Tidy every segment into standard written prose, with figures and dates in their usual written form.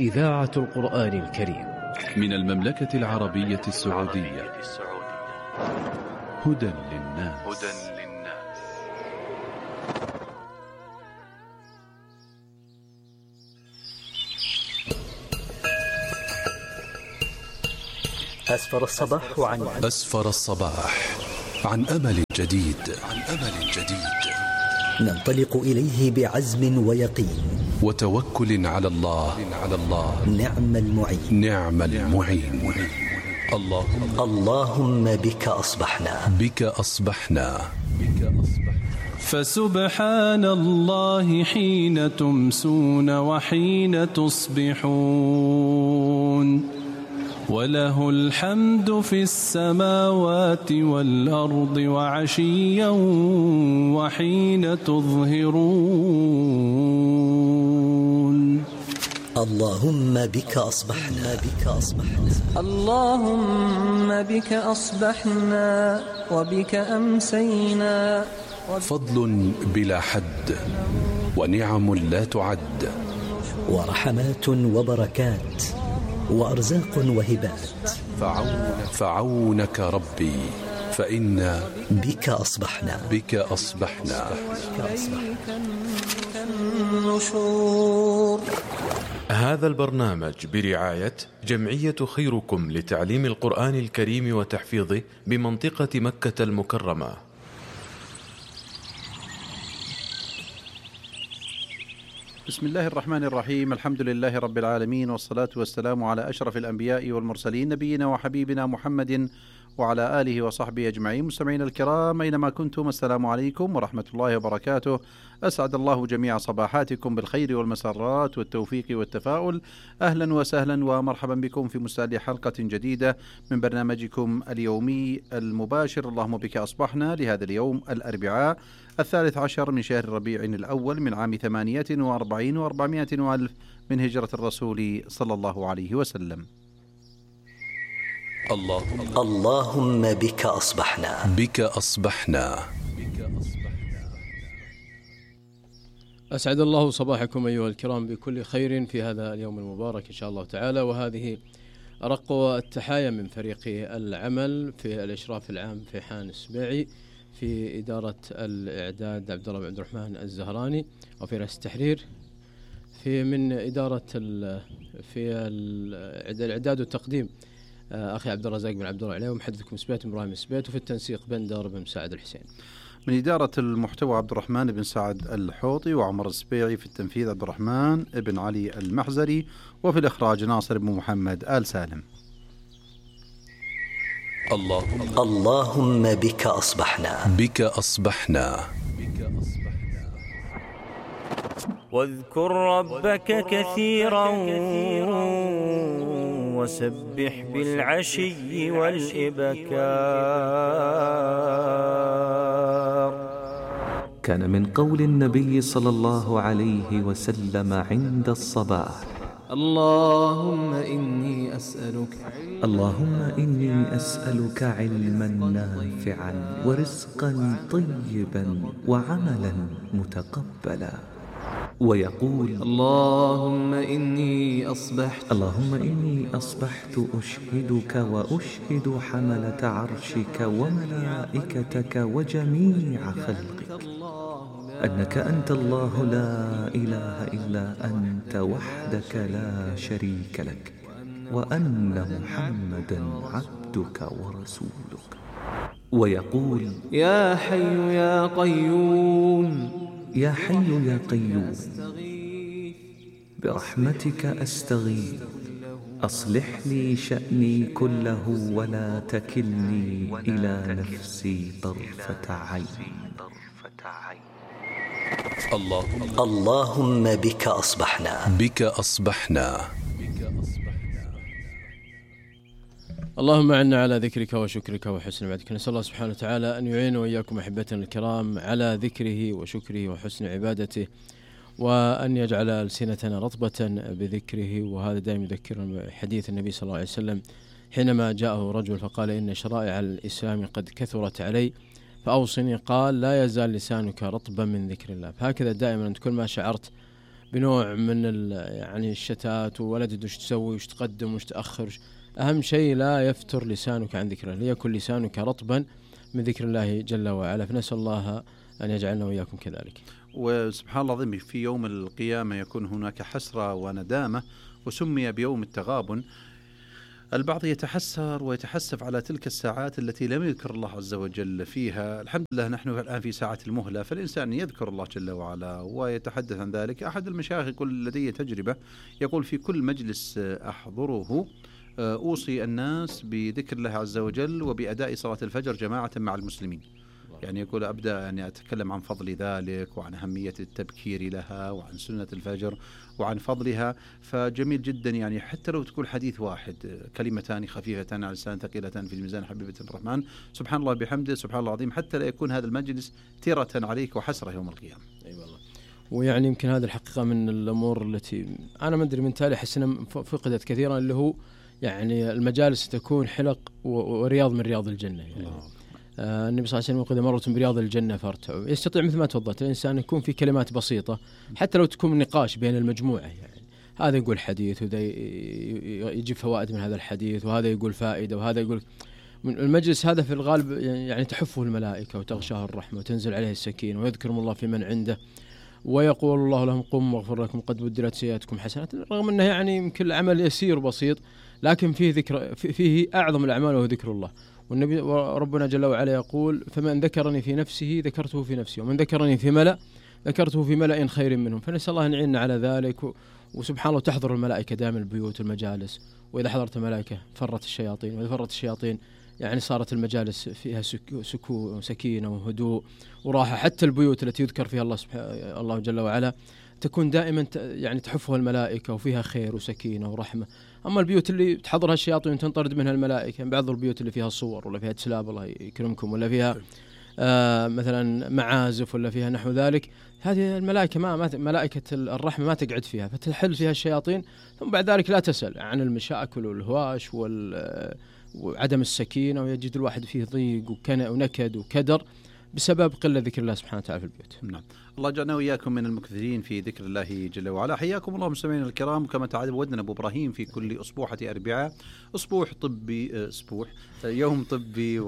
إذاعة القرآن الكريم من المملكة العربية السعودية. هدى للناس. أسفر الصباح عن أمل جديد. ننطلق إليه بعزم ويقين وتوكل على الله. نعم المعين. اللهم بك أصبحنا. فسبحان الله حين تمسون وحين تصبحون، وله الحمد في السماوات والأرض وعشيا وحين تظهرون. اللهم بك أصبحنا. اللهم بك أصبحنا وبك أمسينا. فضل بلا حد ونعم لا تعد، ورحمات وبركات وأرزاق وهبات. فعونك ربي فإنا بك أصبحنا. هذا البرنامج برعاية جمعية خيركم لتعليم القرآن الكريم وتحفيظه بمنطقة مكة المكرمة. بسم الله الرحمن الرحيم. الحمد لله رب العالمين، والصلاة والسلام على أشرف الأنبياء والمرسلين، نبينا وحبيبنا محمد وعلى آله وصحبه أجمعين. مستمعين الكرام أينما كنتم، السلام عليكم ورحمة الله وبركاته. أسعد الله جميع صباحاتكم بالخير والمسرات والتوفيق والتفاؤل. أهلا وسهلا ومرحبا بكم في مستهل حلقة جديدة من برنامجكم اليومي المباشر اللهم بك أصبحنا، لهذا اليوم الأربعاء 13 من شهر ربيع الأول من عام 48 و400 وألف من هجرة الرسول صلى الله عليه وسلم. اللهم بك أصبحنا. أسعد الله صباحكم أيها الكرام بكل خير في هذا اليوم المبارك إن شاء الله تعالى. وهذه أرق التحايا من فريق العمل في الإشراف العام في حان السبيعي، في إدارة الإعداد عبد الله بن عبد الرحمن الزهراني، وفي رئيس التحرير من إدارة في الإعداد والتقديم أخي عبد الرزاق بن عبد الله عليه، ومحدثكم سبيت إبراهيم سبيت، وفي التنسيق بندر بن سعد الحسين. من إدارة المحتوى عبد الرحمن بن سعد الحوطي وعمر السبيعي، في التنفيذ عبد الرحمن بن علي المحزري، وفي الإخراج ناصر بن محمد آل سالم. اللهم بك أصبحنا. واذكر ربك كثيرا وسبح بالعشي والإبكار. كان من قول النبي صلى الله عليه وسلم عند الصباح: اللهم إني أسألك علما نافعا ورزقا طيبا وعملا متقبلا. ويقول: اللهم إني أصبحت أشهدك وأشهد حملة عرشك وملائكتك وجميع خلقك أنك أنت الله لا إله إلا أنت وحدك لا شريك لك، وأن محمدا عبدك ورسولك. ويقول: يا حي يا قيوم برحمتك أستغيث، أصلح لي شأني كله ولا تكلني إلى نفسي طرفة عين. اللهم بك أصبحنا. اللهم أعنا على ذكرك وشكرك وحسن عبادتك. نسأل الله سبحانه وتعالى أن يعين وإياكم أحبتنا الكرام على ذكره وشكره وحسن عبادته، وأن يجعل ألسنتنا رطبة بذكره. وهذا دائما يذكر حديث النبي صلى الله عليه وسلم حينما جاءه رجل فقال: إن شرائع الإسلام قد كثرت علي فأوصني. قال: لا يزال لسانك رطبا من ذكر الله. فهكذا دائما أنت كل ما شعرت بنوع من يعني الشتات، وولد وش تسوي وش تقدم وش تأخر. أهم شيء لا يفتر لسانك عن ذكر الله، ليكن لسانك رطبا من ذكر الله جل وعلا. فنسأل الله أن يجعلنا وإياكم كذلك. وسبحان الله العظيم في يوم القيامة يكون هناك حسرة وندامة، وسمي بيوم التغابن. البعض يتحسر ويتحسف على تلك الساعات التي لم يذكر الله عز وجل فيها. الحمد لله نحن الآن في ساعة المهلة، فالإنسان يذكر الله جل وعلا ويتحدث عن ذلك. أحد المشايخ يقول لدي تجربة، يقول في كل مجلس أحضره أوصي الناس بذكر الله عز وجل وبأداء صلاة الفجر جماعة مع المسلمين. يعني يقول أبدأ يعني أتكلم عن فضل ذلك وعن أهمية التبكير لها وعن سنة الفجر وعن فضلها. فجميل جدا، يعني حتى لو تقول حديث واحد، كلمتان خفيفتان على اللسان ثقيلتان في الميزان حبيبة الرحمن، سبحان الله بحمده سبحان الله العظيم، حتى لا يكون هذا المجلس تيرة عليك وحسرة يوم القيامة. أي والله. ويعني يمكن هذه الحقيقة من الأمور التي أنا ما أدري من تالي حسنا فقدت كثيرا، اللي هو يعني المجالس تكون حلق ورياض من رياض الجنة. يعني النبي صلى الله عليه وسلم يقول: مرة برياض الجنة فارتعوا. يستطيع مثل ما تفضلت الإنسان يكون في كلمات بسيطة، حتى لو تكون نقاش بين المجموعة، يعني هذا يقول حديث وذا يجيب فوائد من هذا الحديث، وهذا يقول فائدة وهذا يقول. المجلس هذا في الغالب يعني تحفه الملائكة وتغشاه الرحمة وتنزل عليه السكينة، ويذكرهم الله في من عنده، ويقول الله لهم: قم واغفر لكم قد بدلت سيئاتكم حسنات. رغم أنه يعني يمكن العمل يسير بسيط، لكن فيه ذكر، فيه أعظم الأعمال وهو ذكر الله. والنبي ربنا جل وعلا يقول: فمن ذكرني في نفسه ذكرته في نفسي، ومن ذكرني في ملأ ذكرته في ملأ خير منهم. فنسأل الله أن يعيننا على ذلك. وسبحان الله تحضر الملائكة دائما البيوت والمجالس، وإذا حضرت الملائكة فرت الشياطين، وإذا فرت الشياطين يعني صارت المجالس فيها سكون وسكينة وهدوء وراحة. حتى البيوت التي يذكر فيها الله جل وعلا تكون دائما يعني تحفها الملائكة وفيها خير وسكينة ورحمة. أما البيوت اللي تحضرها الشياطين وتنطرد منها الملائكة، بعض البيوت اللي فيها صور ولا فيها تسلاب الله يكرمكم، ولا فيها مثلا معازف ولا فيها نحو ذلك، هذه الملائكة ملائكة الرحمة ما تقعد فيها، فتحل فيها الشياطين. ثم بعد ذلك لا تسأل عن المشاكل والهواش وعدم السكينة، ويجد الواحد فيه ضيق ونكد وكدر بسبب قلة ذكر الله سبحانه وتعالى في البيوت. نعم. الله جعلنا وإياكم من المكثرين في ذكر الله جل وعلا. حياكم الله مستمعينا الكرام، كما تعودنا أبو إبراهيم في كل أسبوعة أربعاء يوم طبي،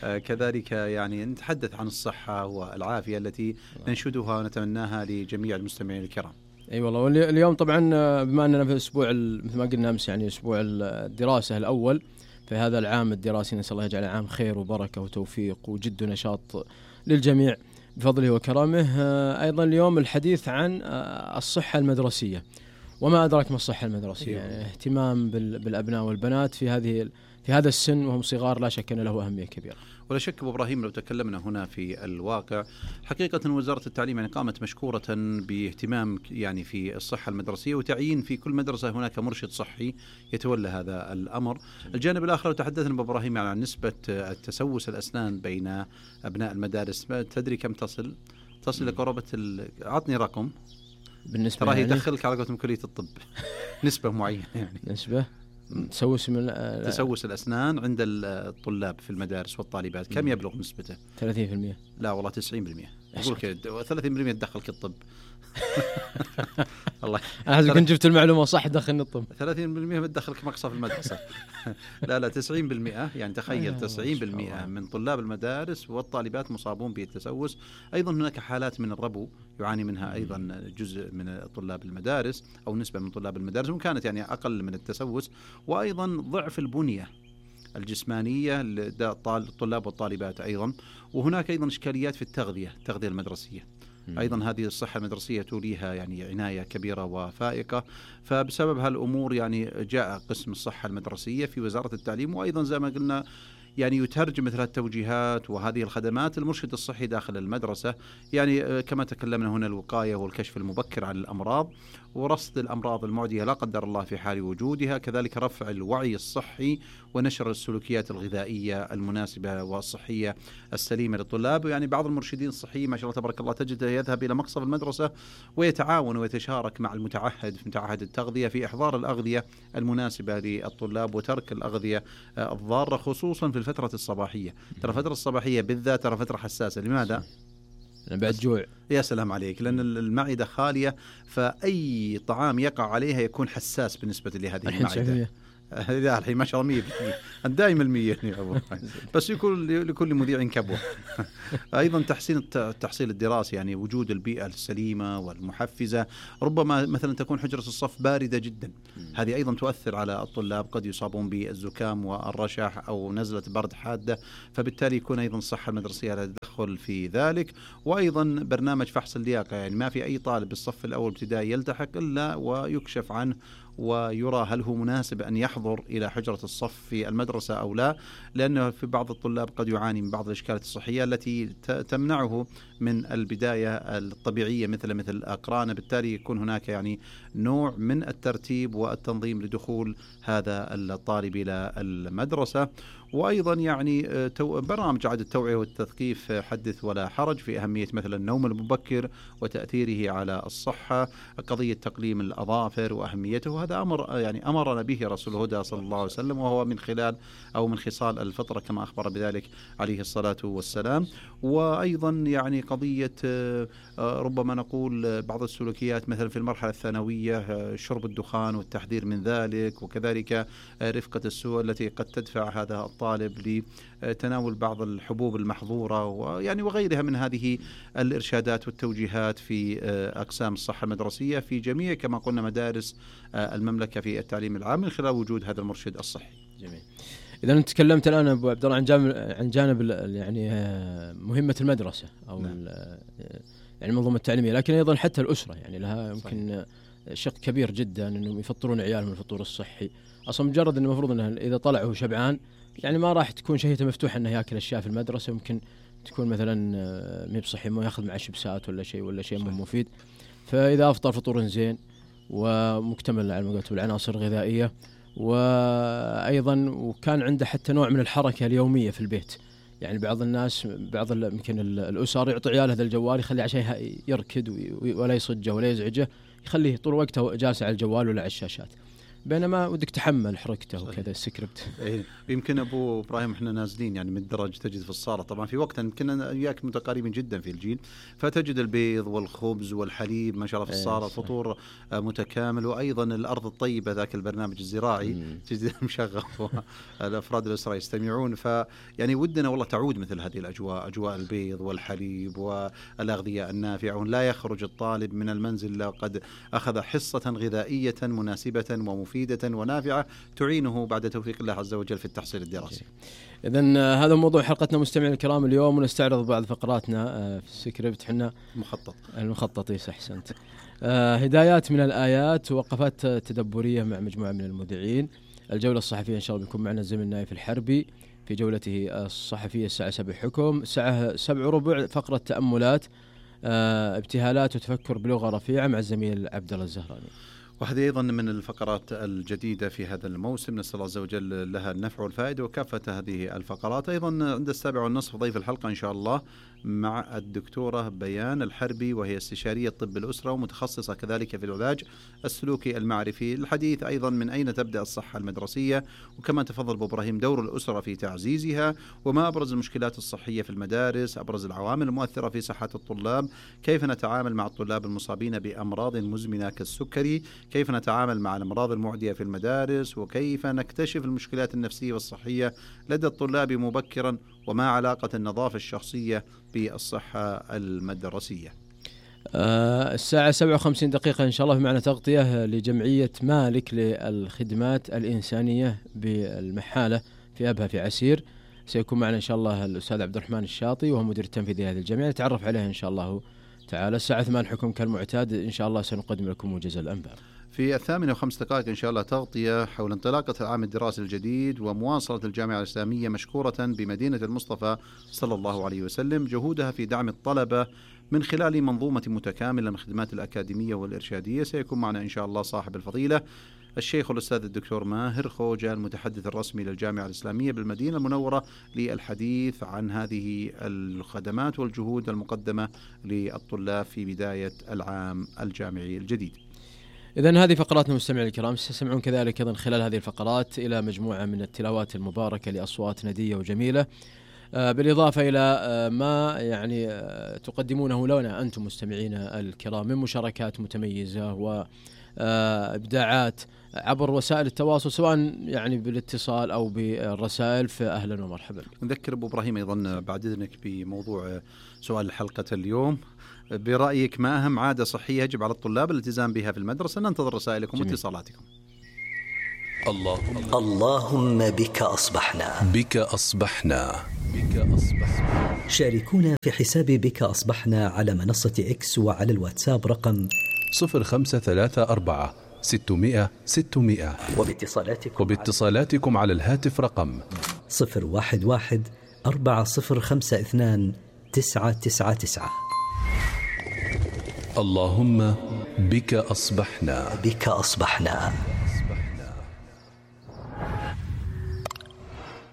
وكذلك يعني نتحدث عن الصحة والعافية التي ننشدها ونتمناها لجميع المستمعين الكرام. أي والله. واليوم طبعا بما أننا في أسبوع مثل ما قلنا أمس، يعني أسبوع الدراسة الأول في هذا العام الدراسي، نسأل الله يجعل عام خير وبركة وتوفيق وجد ونشاط للجميع بفضله وكرامه. أيضا اليوم الحديث عن الصحة المدرسية، وما أدراك ما الصحة المدرسية. يعني اهتمام بالأبناء والبنات في هذا السن وهم صغار، لا شك أن له أهمية كبيرة. ولا شك أبو إبراهيم لو تكلمنا هنا في الواقع، حقيقة وزارة التعليم يعني قامت مشكورة باهتمام يعني في الصحة المدرسية، وتعيين في كل مدرسة هناك مرشد صحي يتولى هذا الأمر. الجانب الآخر لو تحدثنا أبو إبراهيم عن نسبة التسوس الأسنان بين أبناء المدارس، تدري كم تصل لقرابة عطني رقم بالنسبة ترى يدخلك على قولتهم كلية الطب نسبة معينة، يعني نسبة تسوس الأسنان عند الطلاب في المدارس والطالبات كم يبلغ نسبته؟ 30%. لا والله 90%. أقول كده 30% تدخلك الطب. الله أنا كنت جبت المعلومة صح، دخلني الطب. 30% بتدخلك مقصف المدرسة. لا 90%، يعني تخيل 90% من طلاب المدارس والطالبات مصابون بالتسوس. أيضا هناك حالات من الربو يعاني منها أيضا جزء من طلاب المدارس أو نسبة من طلاب المدارس، وكانت يعني أقل من التسوس. وأيضا ضعف البنية الجسمانية للطلاب والطالبات أيضا. وهناك أيضا إشكاليات في التغذية المدرسية. أيضا هذه الصحة المدرسية توليها يعني عناية كبيرة وفائقة. فبسبب هالأمور يعني جاء قسم الصحة المدرسية في وزارة التعليم، وأيضا زي ما قلنا يعني يترجم مثل التوجيهات وهذه الخدمات المرشد الصحي داخل المدرسة. يعني كما تكلمنا هنا الوقاية والكشف المبكر عن الأمراض ورصد الأمراض المعدية لا قدر الله في حال وجودها، كذلك رفع الوعي الصحي ونشر السلوكيات الغذائية المناسبة والصحية السليمة للطلاب. يعني بعض المرشدين الصحيين ما شاء الله تبارك الله تجده يذهب إلى مقصف المدرسة ويتعاون ويتشارك مع المتعهد في متعهد التغذية في إحضار الأغذية المناسبة للطلاب وترك الأغذية الضارة، خصوصا في الفترة الصباحية. ترى الفترة الصباحية بالذات ترى فترة حساسة. لماذا؟ بعد جوع. يا سلام عليك، لأن المعدة خالية، فأي طعام يقع عليها يكون حساس بالنسبة لهذه المعدة. لا الحين ما شاء الله 100%، دائما 100 يا أبو بس يكون لكل مذيع كبوة. أيضا تحسين التحصيل الدراسي، يعني وجود البيئة السليمة والمحفزة. ربما مثلا تكون حجرة الصف باردة جدا، هذه أيضا تؤثر على الطلاب، قد يصابون بالزكام والرشح أو نزلة برد حادة، فبالتالي يكون أيضا الصحة المدرسية لها تدخل في ذلك. وأيضا برنامج فحص اللياقة، يعني ما في أي طالب بالصف الأول ابتدائي يلتحق إلا ويكشف عنه ويرى هل هو مناسب أن يحضر إلى حجرة الصف في المدرسة أو لا، لأنه في بعض الطلاب قد يعاني من بعض الإشكالات الصحية التي تمنعه من البداية الطبيعية مثل أقرانه. بالتالي يكون هناك يعني نوع من الترتيب والتنظيم لدخول هذا الطالب إلى المدرسة. وأيضا يعني برنامج إعادة التوعية والتثقيف حدث ولا حرج في أهمية مثلا النوم المبكر وتأثيره على الصحة، قضية تقليم الأظافر وأهميته، وهذا أمر يعني أمرنا به رسول الهدى صلى الله عليه وسلم، وهو من خلال أو من خصال الفطرة كما أخبر بذلك عليه الصلاة والسلام. وأيضا يعني قضية ربما نقول بعض السلوكيات مثلا في المرحلة الثانوية، شرب الدخان والتحذير من ذلك، وكذلك رفقة السوء التي قد تدفع هذا الطالب لتناول بعض الحبوب المحظورة ويعني وغيرها من هذه الإرشادات والتوجيهات في أقسام الصحة المدرسية في جميع كما قلنا مدارس المملكة في التعليم العام من خلال وجود هذا المرشد الصحي. جميل. إذا أنت تكلمت الآن أبو عبد الله عن جانب يعني مهمة المدرسة أو نعم. يعني المنظومة التعليمية، لكن أيضا حتى الأسرة يعني لها يمكن شق كبير جدا إنهم يفطرون عيالهم الفطور الصحي. أصلا مجرد إنه المفروض إنه إذا طلع هو شبعان يعني ما راح تكون شهيته مفتوحة إنه يأكل أشياء في المدرسة، ممكن تكون مثلا مي بصحي ما يأخذ معه شيبسات ولا شيء مفيد. فإذا أفطر فطور زين ومكتمل على ما قلت بالعناصر الغذائية، وأيضا وكان عنده حتى نوع من الحركة اليومية في البيت. يعني بعض الناس يمكن الأسر يعطي عياله هذا الجوال يخليه عشان يركد ولا يصجه ولا يزعجه، يخليه طول وقته جالس على الجوال ولا على الشاشات، بينما ودك تحمل حركته وكذا السكريبت. يمكن أبو إبراهيم إحنا نازلين يعني من الدرج تجد في الصالة، طبعا في وقت كنا وياك متقاربين جدا في الجيل، فتجد البيض والخبز والحليب ما شاء الله في الصالة، فطور متكامل. وأيضا الأرض الطيبة ذاك البرنامج الزراعي تجد مشغل والأفراد الأسرة يستمعون. فيعني ودنا والله تعود مثل هذه الأجواء، أجواء البيض والحليب والأغذية النافعة، ولا يخرج الطالب من المنزل قد أخذ حصة غذائية مناسبة ومفيدة ونافعة تعينه بعد توفيق الله عز وجل في التحصيل الدراسي. إذن هذا موضوع حلقتنا مستمعين الكرام اليوم، ونستعرض بعض فقراتنا في السكريبت. حنا المخطط أحسنت. هدايات من الآيات، وقفات تدبرية مع مجموعة من المذيعين. الجولة الصحفية إن شاء الله بيكون معنا الزميل نايف الحربي في جولته الصحفية الساعة 7 حكم، الساعة 7:15 فقرة تأملات، ابتهالات وتفكر بلغة رفيعة مع الزميل عبد الله الزهراني. وهذه أيضا من الفقرات الجديدة في هذا الموسم، نسأل الله عز وجل لها النفع والفائدة وكافة هذه الفقرات. أيضا عند 7:30 ضيف الحلقة إن شاء الله مع الدكتورة بيان الحربي، وهي استشارية طب الأسرة ومتخصصة كذلك في العلاج السلوكي المعرفي. الحديث أيضا من أين تبدأ الصحة المدرسية، وكما تفضل أبو إبراهيم دور الأسرة في تعزيزها، وما أبرز المشكلات الصحية في المدارس، أبرز العوامل المؤثرة في صحة الطلاب، كيف نتعامل مع الطلاب المصابين بأمراض مزمنة كالسكري، كيف نتعامل مع الأمراض المعدية في المدارس، وكيف نكتشف المشكلات النفسية والصحية لدى الطلاب مبكرا، وما علاقة النظافة الشخصية بالصحة المدرسية. الساعة 57 دقيقة إن شاء الله معنا تغطية لجمعية مالك للخدمات الإنسانية بالمحالة في أبها في عسير. سيكون معنا إن شاء الله الأستاذ عبد الرحمن الشاطي وهو مدير التنفيذي لهذه الجمعية، نتعرف عليه إن شاء الله تعالى. الساعة 8 حكم كالمعتاد إن شاء الله سنقدم لكم موجز الأنباء. في 8:05 إن شاء الله تغطية حول انطلاقة العام الدراسي الجديد ومواصلة الجامعة الإسلامية مشكورة بمدينة المصطفى صلى الله عليه وسلم جهودها في دعم الطلبة من خلال منظومة متكاملة من الخدمات الأكاديمية والإرشادية. سيكون معنا إن شاء الله صاحب الفضيلة الشيخ الأستاذ الدكتور ماهر خوجة المتحدث الرسمي للجامعة الإسلامية بالمدينة المنورة للحديث عن هذه الخدمات والجهود المقدمة للطلاب في بداية العام الجامعي الجديد. إذن هذه فقراتنا مستمعي الكرام، ستسمعون كذلك أيضا خلال هذه الفقرات إلى مجموعة من التلاوات المباركة لأصوات ندية وجميلة. بالإضافة إلى ما يعني تقدمونه لنا أنتم مستمعينا الكرام من مشاركات متميزة وإبداعات عبر وسائل التواصل سواء يعني بالاتصال أو بالرسائل، فأهلا ومرحبا. نذكر أبو إبراهيم أيضا بعد إذنك بموضوع سؤال حلقة اليوم، برأيك ما أهم عادة صحية يجب على الطلاب الالتزام بها في المدرسة؟ ننتظر رسائلكم واتصالاتكم. اللهم بك أصبحنا. بك أصبحنا. شاركونا في حساب بك أصبحنا على منصة إكس وعلى الواتساب رقم 0534 600 600 وباتصالاتكم على الهاتف رقم 011 4052 999. اللهم بك أصبحنا. بك أصبحنا.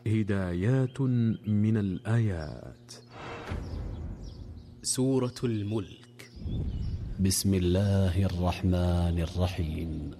هدايات من الآيات. سورة الملك. بسم الله الرحمن الرحيم.